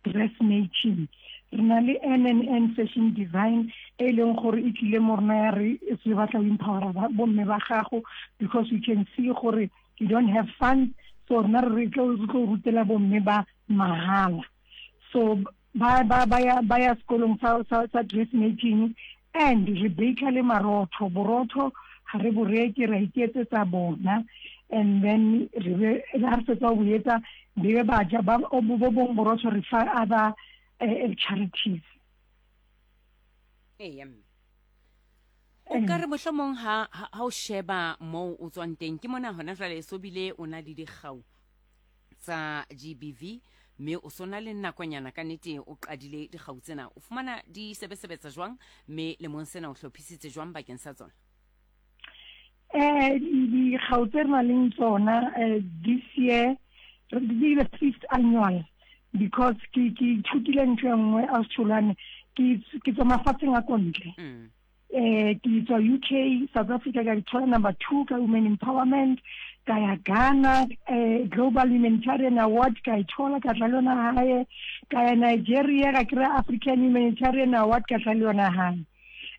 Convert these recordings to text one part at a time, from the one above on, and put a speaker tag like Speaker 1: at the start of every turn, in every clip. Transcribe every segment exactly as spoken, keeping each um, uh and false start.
Speaker 1: Dressmaking. Re na le N and N Fashion Design e leng gore e tlile mo rona ya re se batla go empowera bomme ba gago, because we can see gore you don't have funds, so rena re tlo re tlo rutela bomme ba mahala. So ba ba ba ya ba ya sekolong sa sa, sa dressmaking. And re baka le marotho. Borotho ga re bo reke, ra iketsetsa bona, and then re be ha re fetsa ho etsa, be ba ja ba bo bong borotho re fa other uh, charities.
Speaker 2: Eya mme, o ka re mohlomong ha ha o sheba moo o tswang teng, ke mona hona jwale so bile o na le dikgau tsa G B V, mme o sona le nakonyana ka nete o qadile dikgau tsena, o fumana di sebesebetsa jwang, mme lemong sena o hlophisitse jwang bakeng sa tsona?
Speaker 1: eh dikgau tse re nang le tsona eh, this year di the fifth annual, because ke ke ithutile ntho e nngwe a Tholwane. ke ke tswa mafatsheng a kontle.
Speaker 2: mm.
Speaker 1: eh ke tswa U K, South Africa, ka dithola number two ka women empowerment. Ka ya Ghana, eh Global Humanitarian Award ka ithola, ka tla le yona hae. Ka ya Nigeria, ka kry African Humanitarian Award, ka tla le yona hae.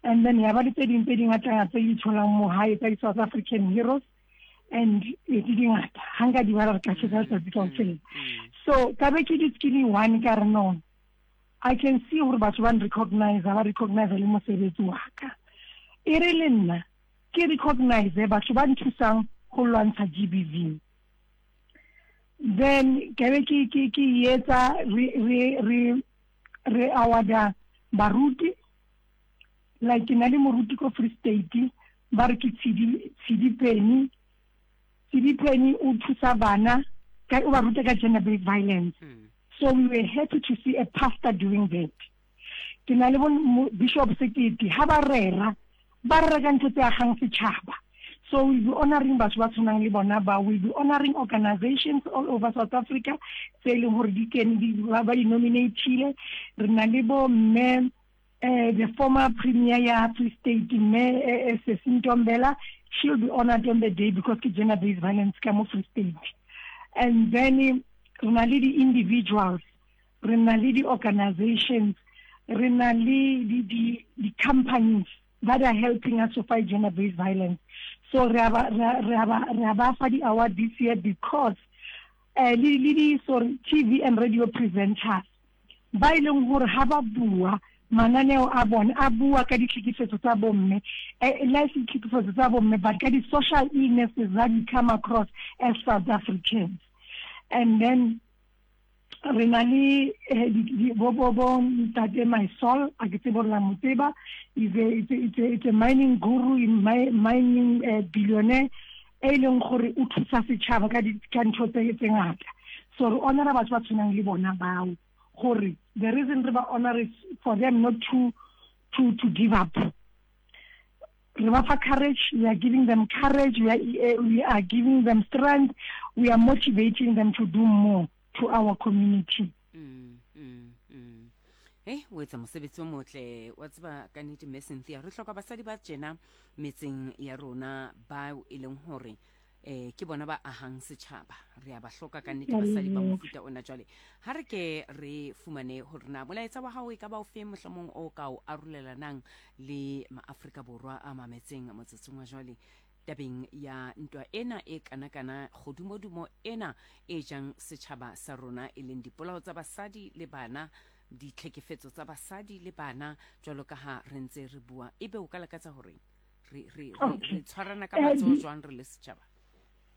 Speaker 1: And then ya ba le tse ding tse dingata tse di tholang mo hae tsa di-South African Heroes, and di dingata, ha nka di bala re ka tjhesa letsatsi kaofela. So ka be ke di one ka re no, I can see gore batho ba recognize, ba recognize le mosebetsi wa ka. E re le nna ke recognize batho ba nthusang go lwantsha G B V. Then ke be ke ke ke etsa re re re re awarda baruti, like ke na le moruti ko Free State, ba re ke Tshidi Tshidi Penny. Tshidi Penny o thusa bana ka o ba ruta ka gender based violence.
Speaker 2: Mm.
Speaker 1: So we were happy to see a pastor doing that. Ke na le bo Bishop Sekete, ha ba rera, ba rera ka ntho tse agang setšhaba. So we'll be honoring batho ba tshwanang le bona ba. We'll be honoring organizations all over South Africa tse e leng gore di kene ba ba di nominatile. Re na le bo mme eh the former premier ya Free State, mme eh, Sesi Ntombela. She'll be honored on the day because ke gender based violence ka mo Free State. And then re na le di-individuals, re na le di-organizations, re na le di-companies that are helping us to fight gender based violence. So re a ba re a ba re a ba fa di-award this year because uh, le le di, sorry, T V and radio presenters ba e leng gore ha ba bua, mananeo a bone a bua ka ditlhekefetso tsa bomme, eh, le se ditlhekefetso tsa bomme, but ka di-social illnesses that we come across as South Africans. And then re na le bo bo bo ntate Mysol, a ke tsebe gore la mo tseba, is a it's a, it's a, it's a mining guru, in my, mining uh, billionaire e leng gore o thusa setšhaba ka ka ntho tse tse ngata. So re honora batho ba tshwanang le bona bao, gore the reason re ba honor is for them not to to to give up. Re ba fa courage, we are giving them courage, we are, uh, we are giving them strength, we are motivating them to do more to our community.
Speaker 2: mm, mm, mm. Eh, o etsa mosebetsi o motle wa tseba ka nnete, mme Cynthia. Re hloka basadi ba tjena metseng ya rona, bao e leng hore eh ke bona ba ahang setjhaba. Re a ba hloka ka nnete basadi ba mofuta ona. Jwale ha re ke re fumane hore na molaetsa wa hao e ka ba o feng, mohlomong o ka o arolelanang le maAfrika Borwa a mametseng motsotsong wa jwale tabeng ya ntwa ena e kana-kana, kgodumodumo ena e jang setjhaba sa rona, e leng dipolao tsa basadi le bana, ditlhekefetso tsa basadi le bana, jwalo ka ha re ntse re bua. Ebe o ka lakatsa hore re re re tshwarana ka matsoho jwang re le setjhaba?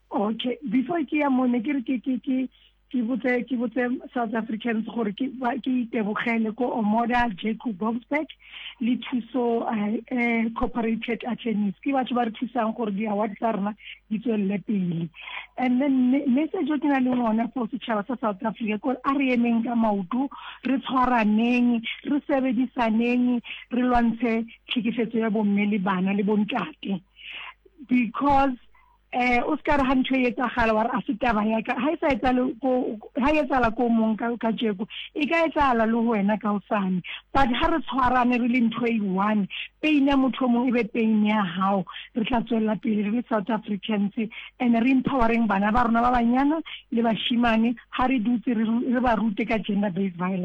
Speaker 1: Okay, before ke ya mone, ke re ke ke ke ke botse ke botse South Africans gore ke ba ke itebogele ko Omoda Jacob Boksburg le Thuso eh Corporated Attorneys, ke batho ba re thusang gore di-award tsa rona di tswelele pele. And then message o ke na le ona for setšhaba sa South Africa kore a re emeng ka maoto, re tshwaraneng, re sebedisaneng, re lwantshe tlhekefetso ya bomme le bana le bontate, because eh o ska re ha ntho e etsagala wa re a se taba ya ka. Ha e sa etsale ko ha e etsala ko mong ka ka tjeko, e ka etsala le ho wena ka hosane. But ha re tshwarane re le ntho e one, pain ya motho o mong e be pain ya hao, re tla tswella pele re le South Africans. And re empowering bana ba rona ba banyana le bashimane, ha re dutse re ba rute ka gender based violence.